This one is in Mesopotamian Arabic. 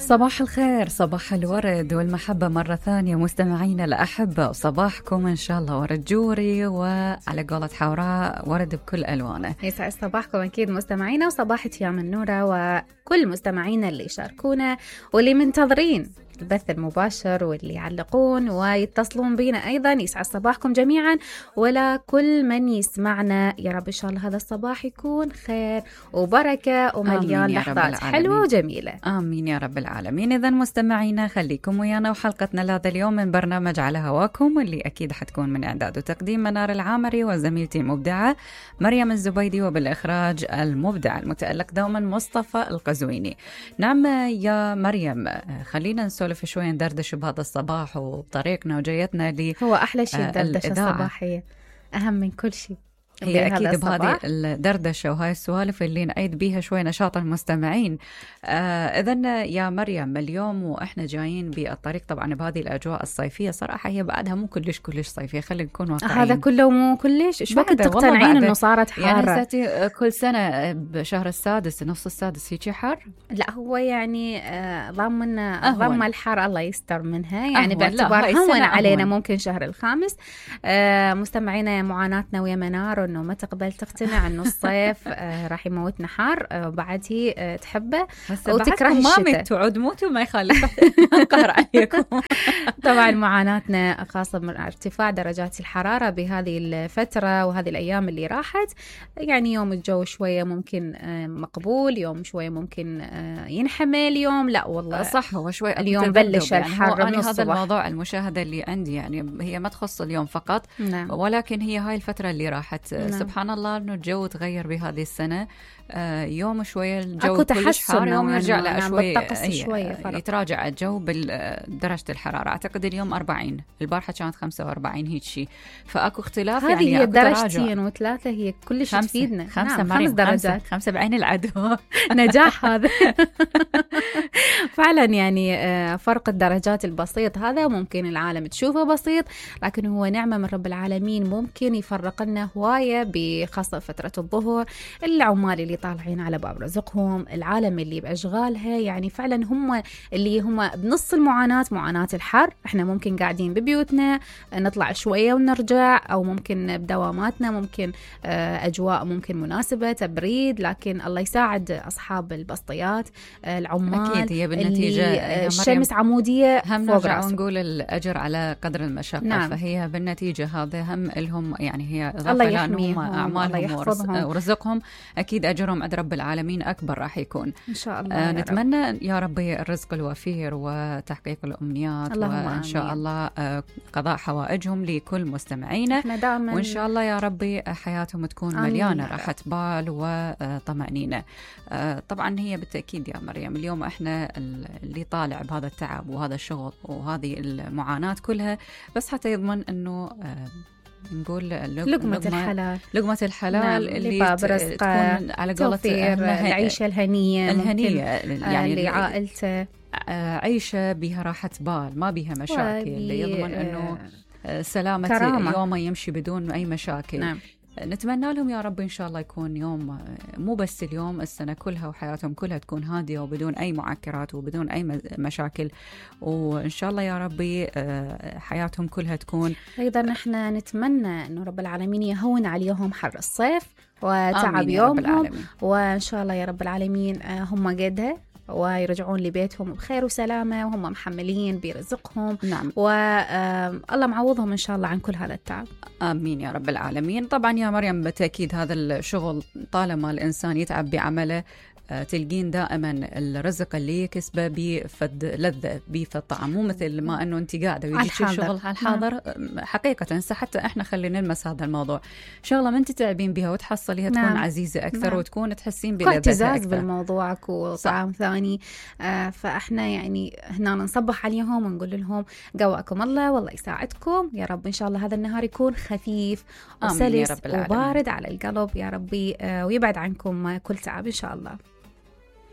صباح الخير، صباح الورد والمحبة مرة ثانية مستمعينا الأحبة، وصباحكم إن شاء الله ورد جوري، وعلى قولة حوراء ورد بكل ألوانه. يسعد صباحكم أكيد مستمعينا، وصباح يا النورة وكل مستمعينا اللي يشاركونا واللي منتظرين البث المباشر واللي يعلقون ويتصلون بينا أيضا. يسعد صباحكم جميعا، ولا كل من يسمعنا يا رب إن شاء الله هذا الصباح يكون خير وبركة ومليان لحظات حلوة وجميلة. آمين يا رب العالمين. إذن مستمعينا خليكم ويانا وحلقتنا لهذا اليوم من برنامج على هواكم، واللي أكيد حتكون من إعداد وتقديم منار العامري وزميلتي المبدعة مريم الزبيدي، وبالإخراج المبدع المتألق دوما مصطفى القزويني. نعم يا مريم، خلينا نسولف شوي، ندردش بهذا الصباح وبطريقنا وجيتنا لي. هو أحلى شيء الدردشة الصباحية، أهم من كل شيء. هي أكيد بهذه الدردشة وهاي السوالف اللي نعيد بيها شوي نشاط المستمعين. إذن يا مريم، اليوم وإحنا جايين بالطريق طبعا بهذه الأجواء الصيفية، صراحة هي بعدها مو كلش صيفية، خلينا نكون واقعيين. هذا كله مو كلش، إيش وقت تقتنعين إنه صارت حارة؟ يعني ساتي كل سنة بشهر السادس نص السادس هيك حر؟ لا هو يعني ضمن الحر الله يستر منها، يعني باعتبار هون علينا ممكن شهر الخامس. مستمعينا معاناتنا ويا منار إنه ما تقبل تقتنع إنه الصيف راح يموتنا حار، بعد هي تحبه وتكره الشتاء. ما متوا موتوا ما يخالف قهر عليكم. طبعا معاناتنا خاصة من ارتفاع درجات الحرارة بهذه الفترة وهذه الأيام اللي راحت. يعني يوم الجو شوية ممكن مقبول، يوم شوية ممكن ينحمل، يوم لا والله صح هو شوي اليوم بلش يعني الحر من هذا الصبح. الموضوع المشاهدة اللي عندي يعني هي ما تخص اليوم فقط. نعم. ولكن هي هاي الفترة اللي راحت. نعم. سبحان الله إنه الجو تغير بهذه السنة. يوم شوية الجو كلش حار، يوم يرجع له شوي يتراجع الجو بدرجة الحرارة. أعتقد اليوم 40، البارحة كانت 45 هيك شيء، فأكو اختلاف. هذه يعني هي درجتين وثلاثة هي كلش تفيدنا. 5 درجات 5 بعين العدو. نجاح هذا. فعلا يعني فرق الدرجات البسيط هذا ممكن العالم تشوفه بسيط، لكن هو نعمة من رب العالمين ممكن يفرق لنا هواية، بخاصة فترة الظهر. العمال اللي طالعين على باب رزقهم، العالم اللي بأشغالها، يعني فعلا هم اللي هم بنص معاناة الحر. احنا ممكن قاعدين ببيوتنا نطلع شوية ونرجع، أو ممكن بدواماتنا ممكن أجواء ممكن مناسبة تبريد، لكن الله يساعد أصحاب البسطيات العمال. أكيد هي بالنتيجة الشمس عمودية هم نرجع ونقول الأجر على قدر المشقة. نعم. فهي بالنتيجة هذا هم لهم، يعني هي الله يحميهم أعمالهم ورزقهم، أكيد أجرهم عند رب العالمين أكبر راح يكون إن شاء الله. نتمنى يا ربي الرزق الوفير وتحقيق الأمنيات، وإن شاء الله قضاء حوائجهم لكل مستمعينا، وإن شاء الله يا ربي حياتهم تكون مليانة راحة بال وطمأنينة. طبعا هي بالتأكيد يا مريم اليوم إحنا اللي طالع بهذا التعب وهذا الشغل وهذه المعاناة كلها بس حتى يضمن أنه نقول لقمة الحلال نعم. اللي تكون على قولة العيشة الهنية يعني لعائلته، عيشة بها راحة بال ما بها مشاكل، اللي يضمن أنه سلامة يومه يمشي بدون أي مشاكل. نعم. نتمنى لهم يا رب إن شاء الله يكون يوم، مو بس اليوم، السنة كلها وحياتهم كلها تكون هادية وبدون أي معكرات وبدون أي مشاكل، وإن شاء الله يا ربي حياتهم كلها تكون. أيضا احنا نتمنى أنه رب العالمين يهون عليهم حر الصيف وتعب يومهم، وإن شاء الله يا رب العالمين هم قدها ويرجعون لبيتهم بخير وسلامة وهم محملين برزقهم. نعم. والله معوضهم إن شاء الله عن كل هذا التعب. آمين يا رب العالمين. طبعا يا مريم بالتأكيد هذا الشغل طالما الإنسان يتعب بعمله تلقين دائما الرزق اللي يكسبه بفد لذة بفد طعم، مو مثل ما انه انت قاعده ويجيك شغل على الحاضر. حقيقه حتى احنا خلينا نلمس هذا الموضوع، شغله ما انت تتعبين بها وتحصليها تكون عزيزه اكثر وتكون تحسين بلذتها اعتزاز بالموضوع وطعم ثاني. فاحنا يعني هنا نصبح عليهم ونقول لهم قواكم الله والله يساعدكم يا رب، ان شاء الله هذا النهار يكون خفيف وسلس وبارد على القلب يا ربي، ويبعد عنكم كل تعب ان شاء الله.